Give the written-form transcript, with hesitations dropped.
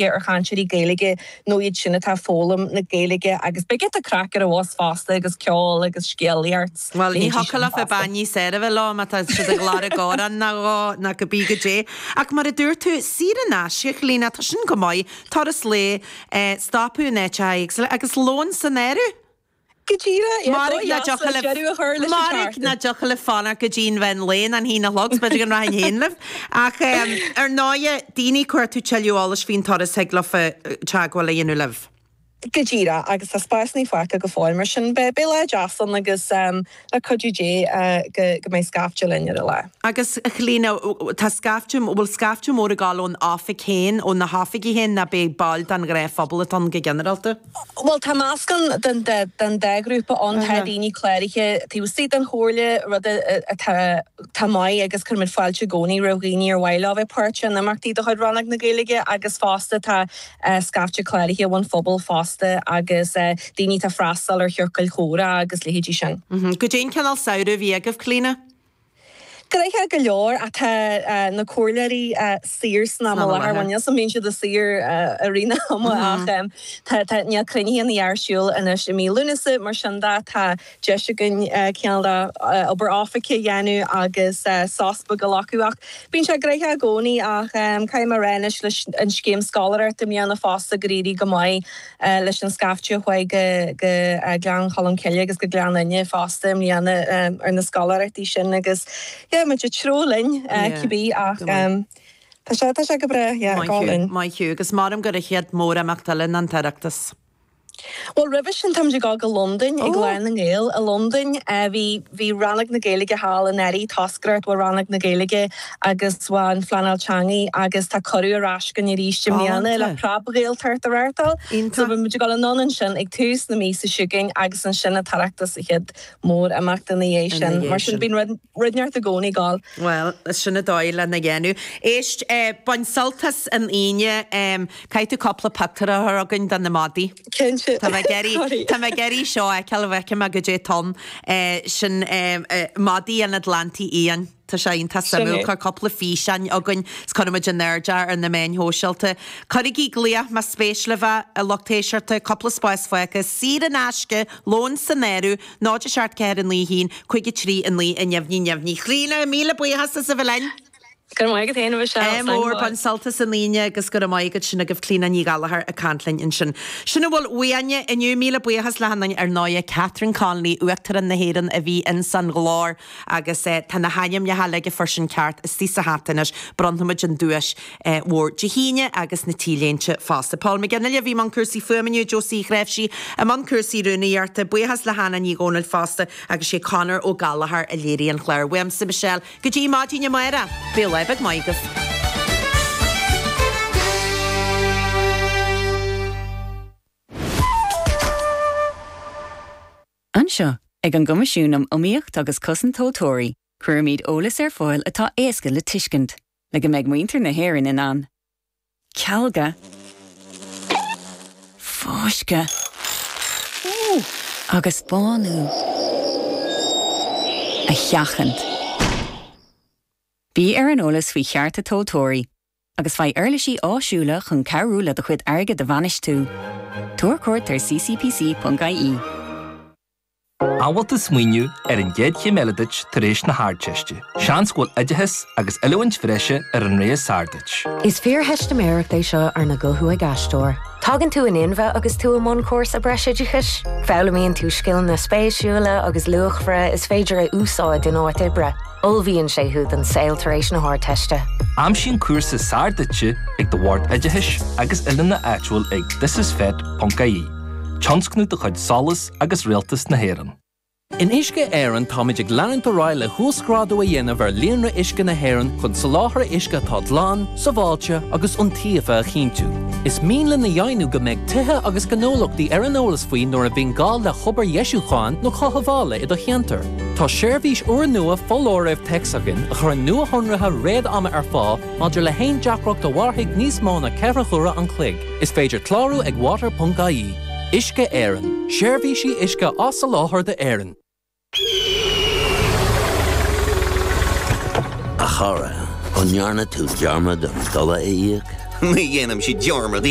Ar chainteoirí Gaeilge nó iad sin atá ag foghlaim na Gaeilge agus beidh giota craic ar an bhus fosta agus ceol agus scéalaíocht. Bhuel, ní thiocfadh leofa bean níos fearr a bheith leo má tá siad ag lorg amhrán nó dhó nó cibé goidé. Ach mar a dúirt tú, saor in aisce, a Chlíona, tá sin go maith, turas lae, stopadh in áiteacha éagsúla agus lón san áireamh. Go díreach, yeah, Mairg nach dtiocfadh libh, deireadh a chur leis an mairg tseachtain. nach dtiocfadh libh fanacht go dtí an mheán lae ná an haon a chlog, 's b'fhéidir go rachainn féin libh. Ach ar ndóighe, daoine ag cuartú tuilleadh eolais faoin turas thig leofa teagmháil a dhéanamh libh. Go díreach, agus tá spásanna fágtha go fóill, mar sin beidh lá deas ann agus le cuidiú Dé go go mbeidh scaifte linn ar an lá. Agus a Chlíona, tá scaifte, bhfuil scaifte mór ag dul ón oifig féin, ó na hoifigí féin, nó beidh baill den ghnáthphobal atá ann go ginearálta? Bhuel, tá meascán den dá ghrúpa ann. Tá daoine cláraithe taobh istigh den Chomhairle, rud atá maith agus cuirimid fáilte i gcónaí roimh dhaoine ar mhaith leo a bheith páirteach in imeachtaí de chuid Rannóg na Gaeilge agus fosta tá scaifte cláraithe ón phobal fosta agus daoine atá ag freastal ar chiorcail chomhrá agus leithéidí sin. Goidé an cineál samhradh a bhí agaibh, Clíona? Gnoitheach go leor ach tá na comhairleoirí saor san am i láthair. Bhuel, níl 's a'm an mbíonn siad saor i rith na hama ach tá, tá, níl cruinnithe ar siúl anois i mí Lúnasa mar sin de tá deis againn cineál de obair oifige a dhéanamh agus sos beag a ghlacadh ach bíonn sé gnoitheach i gcónaí ach caithfidh mé a rá anois leis an scéim scoláireachta i mbliana fosta gur éirigh go maith leis an scaifte a chuaigh go Gleann Cholm Cille agus go Gleann Fhinne fosta i mbliana ar na scoláireachtaí sin agus yeah muid ag treabhadh linn cibé ach tá sé tá sé go breá yeah go hálainn. Maith thú agus maram gur an chéad mór-imeacht eile ná an tOireachtas. Bhuel roimhe sin táimid ag dul go Londain ag Lá na nGael i Londain. Bhí Bhí Rannóg na Gaeilge thall anuraidh, toscaireacht ó Rannóg na Gaeilge agus ó an Phleanáil Teanga agus tá cuireadh ar ais againn arís i mbliana le Preab-Ghaeltacht a reáchtáil. So beidh muid ag dul anonn ansin ag tús na míosa seo chugainn agus ansin an tOireachtas an chéad mór-imeacht ina dhiaidh sin. Mar sin bíonn rud rud inteacht i gcónaí ag dul. Bhuel, sin an dóigh lena dhéanamh. Éist, bain sult as an Aoine. Caithfidh tú cúpla pictiúr a chur chugainn de na madaí. Cinnte. Tá mé ag iarraidh, tá mé ag iarraidh seo a fheiceáil, an bhfeicfidh mé goidé atá ann. Sin madaí an Atlantaigh Fhiáin. Tá sé iontach suimiúil. Cuir cúpla físeán chugainn is cuirfidh muid in airde ar na meáin shóisialta. Cuirigí glaoch más spéis libh é, a lucht éisteachta, cúpla spás fágtha, saor in aisce, lón san áireamh, 0 7 4 9 1 5 3 9 a neamhní neamhní. Clíona, míle buíochas as a bheith linn. Go raibh maith agat féin, a Mhichelle. Ádh mór, bain sult as an Aoine agus go raibh maith agat sin agaibh Clíona Ní Ghallchóir ag caint linn ansin. Sin a bhfuil uainne inniu. Míle buíochas le hAnna ar ndóighe, Catherine Connolly, Uachtarán na hÉireann a bhí ins an gclár agus tá na hainmneacha uilig a fuair sin ceart istigh sa hata anois. Bronnfaimid an duais mhór Dé hAoine agus na T-léinte fosta. Paul McGinley a bhí i mbun cúrsaí fuaime inniu, Josie Uí Chnáimhsí i mbun cúrsaí rúnaíochta. Buíochas le hAnna Ní Dhomhnaill fosta agus sé Conor Ó Gallchóir a léirigh an clár. Uaimse Michelle, Go dtí maidin amárach, bíodh lá beag maith agaibh. Anseo, ag an gCoimisiún um Iomaíocht agus Cosaint Tomhaltóirí, cuirimid eolas ar fáil atá éasca le tuiscint, le go mbeidh muintir na hÉireann in ann. Cealga. Fáisceadh. Agus bánú. A sheachaint. Bí ar an eolas faoi chearta tomhaltóirí agus faigh uirlisí áisiúla chun cabhrú le do chuid airgid a bhainistiú. Tabhair cuairt ar ccpc.ie. An bhfuil tú ag smaoineamh ar an gcéad chéim eile duit tar éis na hArdteiste? Seans go bhfuil oideachas agus oiliúint bhreise ar an rogha is fearr duit. Is fíortheistiméireacht é seo arna guthú ag aisteoir. Tagann tú in inmhe agus tú i mbun cúrsa breisoideachais. Foghlaimíonn tú scileanna spéisiúla agus luachmhara is féidir a úsáid in áit oibre. Ullmhaíonn sé thú don saol tar éis na hArdteiste. Aimsigh an cúrsa is fearr duitse ag do Bhord Oideachais agus Oiliúna áitiúil ag thisisfet.ie. Tionscnamh de chuid SOLAS agus Rialtas na hÉireann. In Uisce Éireann táimid ag leanúint ar aghaidh le huasghrádú a dhéanamh ar líonra uisce na hÉireann chun soláthar uisce atá glan, sábháilte agus iontaofa a chinntiú. Is mian linn a dheimhniú go mbeidh tithe agus gnólachtaí ar an eolas faoi nuair a bhíonn gá le hobair dheisiúcháin nó chothabhála i do cheantar. Tá seirbhís úrnua foláirimh téacs againn a chuireann nuashonruithe réad-ama ar fáil maidir le haon deacracht a mhairfidh níos mó ná 4 huaire an chloig. Is féidir clárú ag water.ie. Uisce Éireann, seirbhísí uisce á soláthar d'Éirinn. A chara, an ndearna tú dearmad an dola a íoc? Ní dhéanaimse dearmad.